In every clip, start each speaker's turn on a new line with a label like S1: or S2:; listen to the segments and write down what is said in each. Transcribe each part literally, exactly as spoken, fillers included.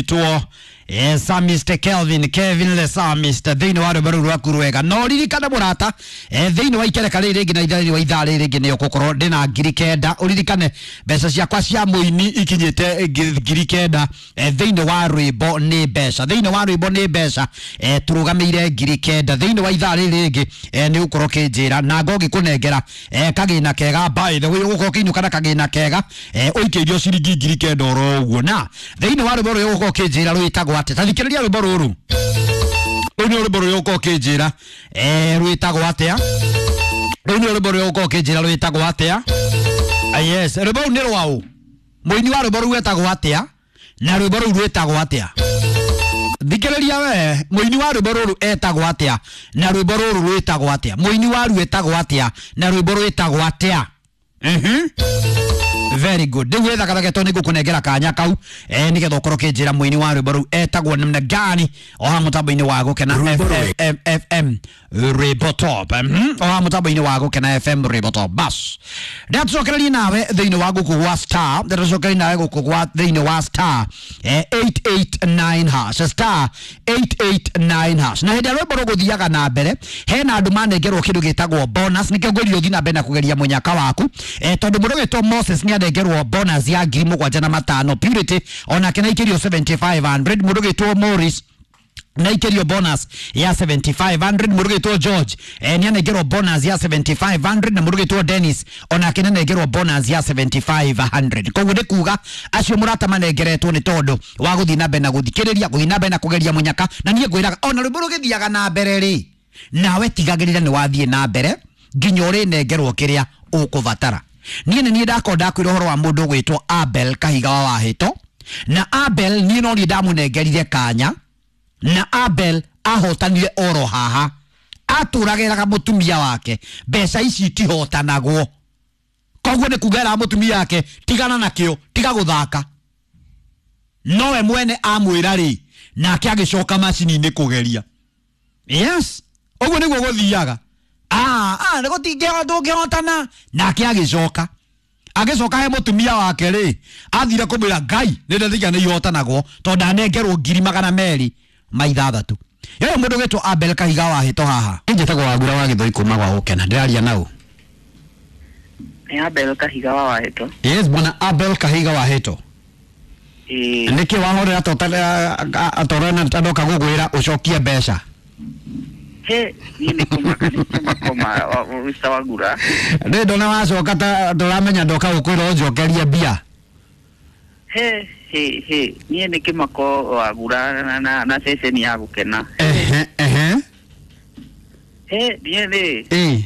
S1: Ũgwĩtwo eh, Samist Kelvin Kevin le Samist thĩinĩ wa rwĩmbo rũu rwaku rwega. No ririkane mũrata, eh, thĩinĩ wa ikereka rĩrĩ rĩngĩ na ithaa wa ithaa rĩrĩ rĩngĩ nĩ ũgũkorwo ndĩna ngiri kenda. Ũririkane mbeca ciakwa cia mũini ikinyĩte ngiri kenda, eh, thĩinĩ wa rwĩmbo nĩ mbeca, thĩinĩ wa rwĩmbo nĩ mbeca, eh, tũrũgamĩire ngiri kenda thĩinĩ wa ithaa rĩrĩ rĩngĩ. eh, nĩ ũgũkorwo ũkĩnjĩra na ngũgĩkũnengera eh, kagĩna kega. By the way, ũgũkorwo ũkĩinũka na kagĩna kega, eh, ũikĩirio ciringi ngiri kenda oro ũguo. Na thĩinĩ wa rwĩmbo rũrũ ũgũkorwo ũkĩnjĩra rwĩtagwo atĩa? Ta thikĩrĩria rwĩmbo rũrũ. Rũu nĩ rwĩmbo rũrĩa ũgũkorwo ũkĩnjĩra eh, rwĩtagwo atĩa? Rũu nĩ rwĩmbo rũrĩa ũgũkorwo ũkĩnjĩra rwĩtagwo atĩa? Ah, yes, rwĩmbo rũu nĩ rwaũ? Mũini wa rwĩmbo rũu etagwo atĩa? Na rwĩmbo rũu rwĩtagwo atĩa? Thikĩrĩria we, mũini wa rwĩmbo rũrũ etagwo atĩa? Na rwĩmbo rũrũ rwĩtagwo atĩa? Mũini wa ruo etagwo atĩa? Na rwĩmbo rwĩtagwo atĩa? Mhm. Very good. Rĩu wĩthakathake tondũ nĩngũkũnengera kanya kau, eh, nĩgetha ũkorwo ũkĩnjĩra mũini wa rwĩmbo rũu etagwo namna gani, o haha mũtambo-inĩ wa Gũkena F M, F M Rwĩmbo Top. Mhm. O haha mũtambo-inĩ wa Gũkena F M Rwĩmbo Top. Bas, ndatucokererie nawe thĩinĩ wa gũkũ gwa star, ndatucokererie nawe gũkũ gwa thĩinĩ wa star eh, eight eight nine hash, star eight eight nine hash. Na hĩndĩ ya rwĩmbo rũgũthiaga na mbere, hena andũ manengerwo kĩndũ gĩtagwo bonus. Nĩkĩo ngwĩrire ũthiĩ na mbere na kũgeria mũnyaka waku, eh, tondũ mũndũ wĩtwo Moses nĩ anengerwo bonus ya ngiri mũgwanja na matano. Purity onake naikĩrio seventy five hundred. Mũndũ wĩtwo Morris naikĩrio bonus ya seventy five hundred. Mũndũ wĩtwo George eh, nĩ anengerwo bonus ya seventy five hundred. Na mũndũ wĩtwo Dennis onake nĩ anengerwo bonus ya seventy five hundred. Koguo nĩ kuga acio mũrata manengeretwo nĩ tondũ wa gũthiĩ na mbere na gũthikĩrĩria, gũthiĩ na mbere na kũgeria mũnyaka. Na niĩ ngwĩraga ona rwĩmbo rũgĩthiaga na mbere rĩ, nawe tigagĩrĩra nĩ wathiĩ na mbere nginya ũrĩnengerwo kĩrĩa ũkũbatara. Niĩ nĩ niĩ ndakorwo ndakwĩra ũhoro wa mũndũ ũgwĩtwo Abel Kahiga wa Wahĩto. Na Abel niĩ no niĩ ndamũnengerire kanya, na Abel ahotanire oro haha, atũragĩraga mũtumia wake mbeca ici itihotanagwo. Koguo nĩ kuga eraga mũtumia wake tigana nakĩo, tiga gũthaka. Nowe mwene amwĩra rĩ, nake agĩcoka macini-inĩ kũgeria. Yes, ũguo nĩguo gũthiaga. Ah, ah, nĩ gũtingĩhota, ndũngĩhotana. Nake agĩcoka, agĩcoka he mũtumia wake rĩ, athire kũmwĩra Ngai nĩ ndethiga nĩ ihotanagwo, tondũ ndanengerwo ngiri magana merĩ ma ithathatũ. Yewe mũndũ ũgwĩtwo Abel Kahiga wa Hĩto haha. Njĩtagwo Wagura wa Gĩthũi kuma gwa Gũkena. Ndĩraria nau.
S2: Nĩ Abel Kahiga wa Wahĩto.
S1: Yes, bwana Abel Kahiga wa Hĩto.
S2: Ĩĩ.
S1: Nĩkĩ wahorera torena ndoka gũkwĩra ũcokie mbeca?
S2: He, niĩ nĩ kũmaka, nĩ kũmakoma, Mister Wagura.
S1: Rĩ ndona wacoka ta ndũramenya ndoka gũkwĩra ũnjokerie mbia.
S2: He, he, he, niĩ nĩ kĩmako Wagura na, na, na ceceni ya Gũkena.
S1: Ehe, ehe.
S2: He, niĩ rĩ,
S1: Ĩ.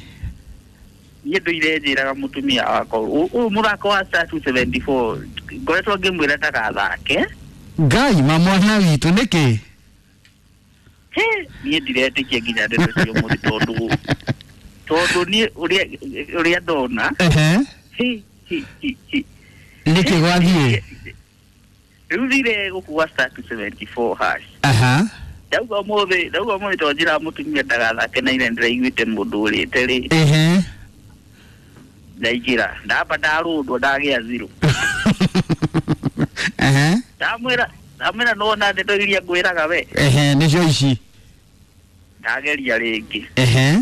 S2: niĩ ndũire njĩraga mũtumia wakwa, ũyũ mũthako wa star two seventy four, ngoretwo ngĩmwĩra ndagathake.
S1: Ngai ma mwana witũ nĩkĩ?
S2: He, niĩ ndiretĩkia nginya ndeto cia ũmũthĩ tondũ, tondũ niĩ ũrĩa, ũrĩa ndona.
S1: Ehe.
S2: He, he, he, he.
S1: Nĩkĩ gwathiĩ?
S2: Rĩu thire gũkũ gwa star two seventy four hash.
S1: Aha.
S2: Ndauga ũmũthĩ, ndauga ũmũthĩ tondũ njĩraga mũtumia ndagathake na ira ndĩraiguĩte mũndũ ũrĩte rĩ.
S1: Ehe.
S2: Ndaingĩra, ndamba ndarũndwo ndagĩa zero.
S1: Ehe.
S2: Ndamwĩra, ndamwĩra nĩwona ndeto iria ngwĩraga we.
S1: Ehe, nĩcio ici.
S2: Ndageria rĩngĩ.
S1: Ehe.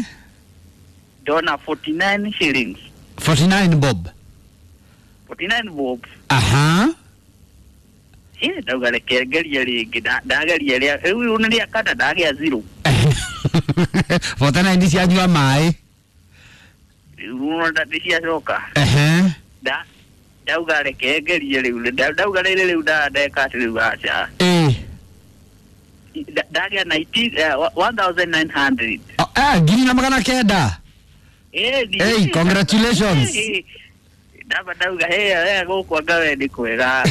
S2: Ndona forty nine shillings.
S1: forty nine bob.
S2: forty nine bob.
S1: Aha.
S2: Eh, ndauga reke ngerie rĩngĩ, ndageria rĩa, rĩu nĩ rĩa kana ndagĩa zero.
S1: forty nine cianyua maĩ.
S2: Rĩu nĩ ciacoka.
S1: Ehe.
S2: Nda, ndauga reke ngerie rĩu, ndauga rĩrĩ rĩu ndeka atĩ rĩu aca.
S1: Ĩ.
S2: Ndagĩa nineteen, one thousand nine hundred.
S1: Eh, ngiri na magana kenda.
S2: Eh,
S1: Hey, congratulations.
S2: Ndamba ndauga, hey, hey, gũkũ anga we nĩ kwega.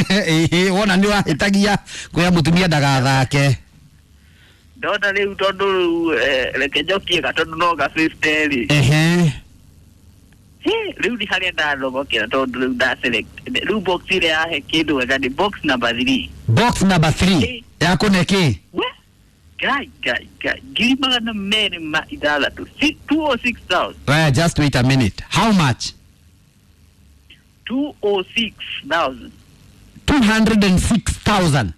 S1: Ĩĩ, wona nĩ wahĩtagia kwĩra mũtumia ndagathake.
S2: Ndona rĩu tondũ rĩu, reke njokie ga tondũ no ga fifty rĩ.
S1: Ehe.
S2: Rĩu nĩ harĩa ndathomokera tondũ rĩu nda select. Rĩu box ĩrĩa yahe kĩndũ wega nĩ box number three.
S1: Box number three. Yakũne kĩ?
S2: We? Ngai, Ngai, Ngai. Ngiri magana merĩ ma ithathatũ. Two oh six thousand.
S1: Well, just wait a minute. How much?
S2: Two oh six thousand.
S1: two hundred and six thousand.